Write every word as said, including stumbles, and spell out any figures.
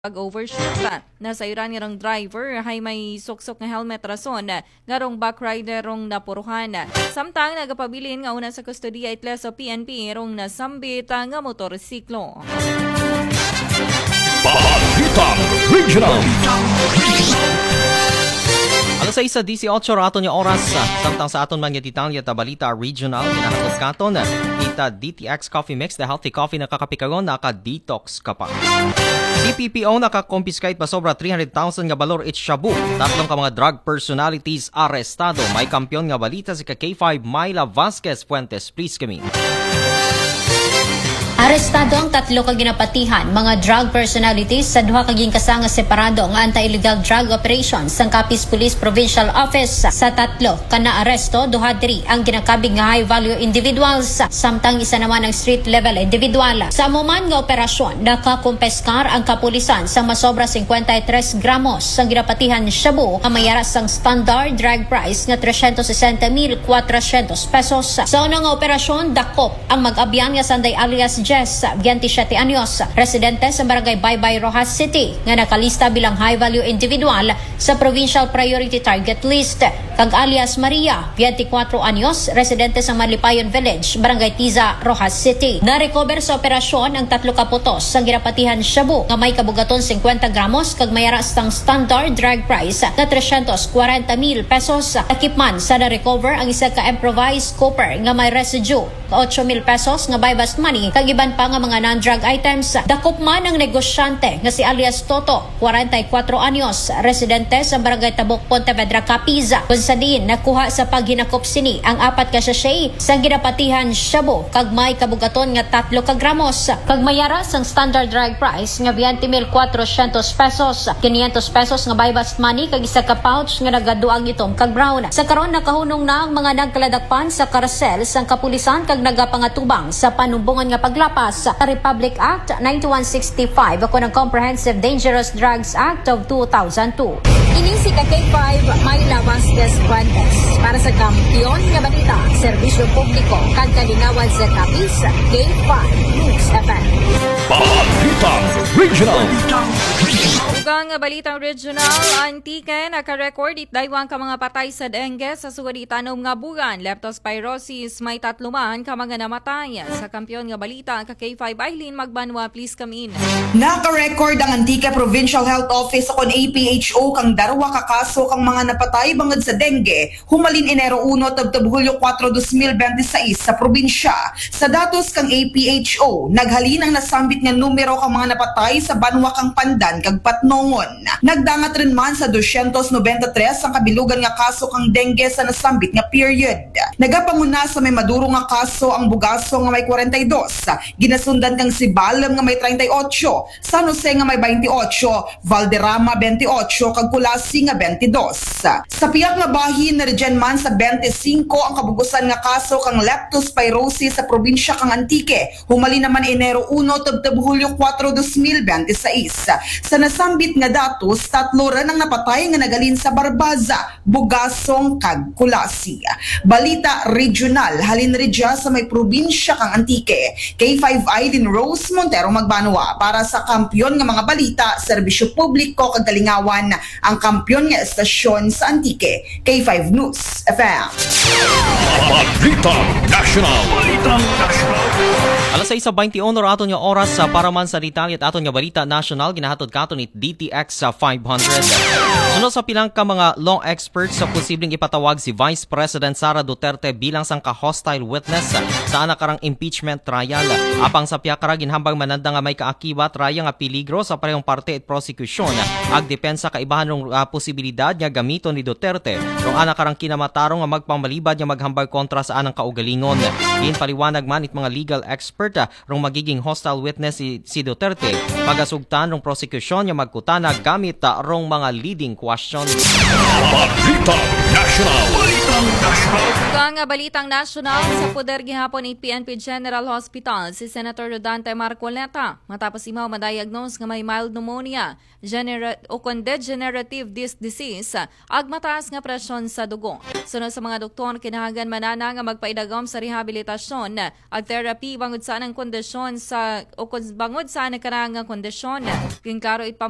pag-overshoot. Nasayran nga rong driver hay may suksok nga helmet rason nga rong backrider rong napuruhan. Samtang nagapabilin nga una sa kustodiya itla sa P N P rong nasambit nga motorsiklo. Balitang Regional. Alas sais disiotso ra aton nga oras, samtang sa aton man nga detalye ta balita regional, ginahatod katon ita D T X Coffee Mix, the healthy coffee na kakapikayon, naka-detox ka pa. C P P O nakakompiskate pa sobra three hundred thousand nga balor it shabu. Tatlong ka mga drug personalities arestado. May kampiyon nga balita si ka K five Myla Vasquez Fuentes. Please kami. Arestado ang tatlo ka ginapatihan, mga drug personalities sa duha ka gingkasa nga separado nga anti-illegal drug operation sang Capiz Police Provincial Office. Sa tatlo ka naaresto, duha diri ang ginakabig nga high value individuals, samtang isa naman ang street level individual. Sa amo man nga operasyon, nakakumpeskar ang kapulisan sa masobra fifty-three gramos sang ginapatihan shabu nga may ara sang standard drug price nga tresyentos sesenta mil kwatrosyentos pesos. Sa una nga operasyon, dakop ang mag-abyan nga Sanday alias Jess, biyente siyete anyos, residente sa Barangay Baybay, Roxas City, nga nakalista bilang high value individual sa Provincial Priority Target List, kag alias Maria, biyente kwatro anyos, residente sa Malipayon Village, Barangay Tiza, Roxas City. Na-recover sa operasyon ang tatlo ka putos sang ginapatihan shabu nga may kabugaton fifty gramos kag may ara sang standard drug price nga tresyentos kwarenta mil pesos. Dakop man sa na-recover ang isa ka improvised copper nga may residue otso mil pesos nga buy-bust money kag iban pa nga mga non-drug items. Dakop man ang negosyante nga si alias Toto, kwarenta y kwatro anyos, residente sa Barangay Tabok, Pontevedra, Capiz, kun sa diin nakuha sa paghinakop sini ang apat ka sachet sang ginapatihan shabu kag may kabugaton nga tatlo ka gramos kag may ara sang standard drug price nga biyente mil kwatrosyentos pesos, kinyentos pesos nga buy-bust money kag isa ka pouch nga nagaduang itom kag brown. Sa karon, nakahunong na ang mga nagkaladakpan sa karasel sang kapulisan kag nagapangatubang sa panumbongan nga paglapas sa Republic Act ninety-one sixty-five o ang Comprehensive Dangerous Drugs Act of two thousand two. Ini si ka K five, Myla Vasquez Fuentes, para sa Kampiyon nga Balita, Serbisyo Publiko, kag Kalingawan sa Capiz, K five News F M. Balitang Regional. Dugang nga balitang regional, Antique naka-record it daywang ka mga patay sa dengue sa sugad itanom nga bulan. Leptospirosis, may tatlo man ka mga namatay. Sa Kampiyon nga Balita, ka K five Eileen Magbanwa, please come in. Naka-record ang Antique Provincial Health Office o kon A P H O kang darwa ka kaso kang mga napatay bangod sa dengue humalin Enero uno tubtob Hulyo kuwatro, dos mil bente sais sa probinsya. Sa datos kang A P H O, naghalin ang nasambit nga numero kang mga napatay sa banwa kang Pandan kag Patnongon. Nagdangat run man sa dosyentos nobenta tres ang kabilugan nga kaso kang dengue sa nasambit nga period. Nagapanguna sa may maduro nga kaso ang Bugasong nga may kwarenta y dos, ginasundan kang Sibalom nga may treinta y ocho, San Jose nga may bente otso, Valderrama bente otso, kag Culasi nga bente dos. Sa pihak nga bahin, naridyan man sa bente singko ang kabugusan nga kaso kang leptospirosis sa probinsya kang Antique. Humalin naman Enero uno tubtob Hulyo kuwatro, dos mil bente sais. Sa nasambit nga datos, tatlo run ang napatay nga naghalin sa Barbaza, Bugasong kag Culasi. Balita regional, halin ridya sa may probinsya kang Antique. K five Eileen Rose Montero Magbanwa para sa Kampiyon nga mga Balita, Serbisyo Publiko kag Kalingawan, ang kampiyon nga estasyon sa Antique. K five News F M. Balitang National. Balitang National. Alas sais bente uno ra aton nga oras, sa para man sa detalye it aton nga balita nasyonal, ginahatod katon it D T X sa five hundred. Suno sa pilang ka mga law experts sa posibleng ipatawag si Vice President Sara Duterte bilang sangka hostile witness sa ana karang impeachment trial. Apang sa pihak ra, ginhambal man nanda nga may kaakibat raya nga peligro sa parehong parte it prosekusyon ag depensa kaibahan rong, ah, posibilidad nga gamiton ni Duterte rong ana karang kinamatarong nga magpamalibad nga maghambal kontra sa anang kaugalingon. Ginpaliwanag man it mga legal expert, ah, rong magiging hostile witness si, si Duterte, pagasugtan rong prosekusyon nga magkutana gamit, ah, rong mga leading questions. Balitang National. Kang balitang nasyonal, sa poder gihapon it P N P General Hospital si Senator Rodante Marcoleta matapos imaw ma-diagnose nga may mild pneumonia genera- o kon degenerative disc disease ag mataas nga presyon sa dugo. Suno sa mga doktor, kinahanglan man ana nga magpaidagom sa rehabilitasyon ag therapy bangod sa anang kondisyon sa o kon bangod sa anang kanang kondisyon. Ginklaro it